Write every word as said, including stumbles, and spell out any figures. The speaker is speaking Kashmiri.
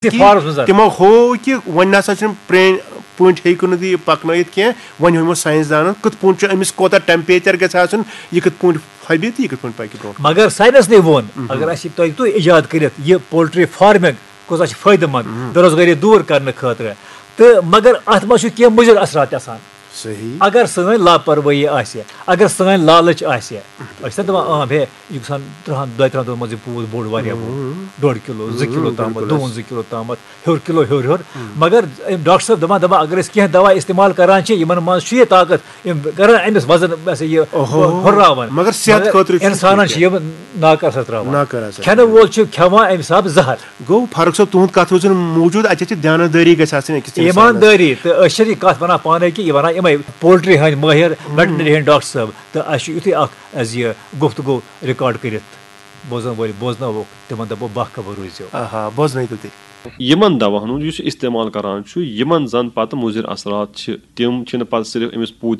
کہِ فارمس منٛز۔ تِمو ہوو کہِ وۄنۍ نسا چھُنہٕ پرٛٲنۍ پٲٹھۍ ہیٚکِو نہٕ تُہۍ یہِ پکنٲیِتھ کینٛہہ۔ وۄنۍ ہیوٚمو ساینس دانن کِتھ پٲٹھۍ چھُ أمِس کوٗتاہ ٹیمپریچر گژھِ آسُن، یہِ کِتھ پٲٹھۍ پھبہِ تہٕ یہِ کِتھ پٲٹھۍ پکہِ برونٛٹھ۔ مگر ساینس نے ووٚن، اگر اسہِ تۄہہِ تُہۍ ایجاد کٔرِتھ یہِ پولٹری فارمنگ کۄس چھِ فٲیدٕ مند، بے روزگٲری دوٗر کرنہٕ خٲطرٕ، تہٕ مگر اتھ منٛز چھُ کینٛہہ مُضر اثرات تہِ آسان۔ صحیح۔ اگر سٲنۍ لاپروٲہی آسہِ، اگر سٲنۍ لالچ آسہِ، أسۍ چھِنہ دپان عام ہے، یہِ گژھان ترٛہن دۄیہِ ترٛہن دۄہن منٛز یہِ پوٗت بوٚڑ واریاہ بوٚڑ، ڈۄڈ کِلو، زٕ کِلو تامَتھ، دُوَنزٕ کِلو تامَتھ، ہیوٚر کِلو ہیوٚر ہیوٚر۔ مگر أمۍ ڈاکٹر صٲب دَپان، دَپان اگر أسۍ کینٛہہ دَوا استعمال کَران چھِ، یِمَن منٛز چھُ یہِ طاقت، یِم کَران أمِس وَزن، یہِ ہسا یہِ اوہو۔ ہُرراوان۔ مگر صحت خٲطرٕ چھُ اِنسانَن ٹھیٖک۔ چھِ یِم ناکارٕ اثرات ترٛاوان۔ ناکارٕ اثرات کھٮ۪نہٕ وول چھُ کھٮ۪وان اَمہِ حسابہٕ زَہر۔ گوٚو فرق صٲب، تُہُنٛد کَتھ روزِ نہٕ موٗجوٗد، اَتہِ چھِ دیانت دٲری گژھِ آسٕنۍ أکِس تٔمِس اِنسانَس۔ ایٖماندٲری، تہٕ أسۍ چھِنہٕ یہِ کَتھ وَنان پانَے کہِ یہِ وَنان یِمَے پولٹری ہٕنٛدۍ مٲہِر، ویٹنری ہٕنٛدۍ ڈاکٹر صٲب، تہٕ اَسہِ چھُ یُتھُے اَکھ اَسہِ یہِ گُفتگو ریکارڈ کٔرِتھ بوزَن وٲلۍ بوزناووکھ، تِمَن دَپو باخبر روٗزِو۔ آہا، بوزنٲیتو تُہۍ۔ یِمن دواہن ہُنٛد یُس یہِ استعمال کران چھُ، یِمن زن پتہٕ مُضر اثرات چھِ، تِم چھِنہٕ پتہٕ صرف أمِس پوٗتِس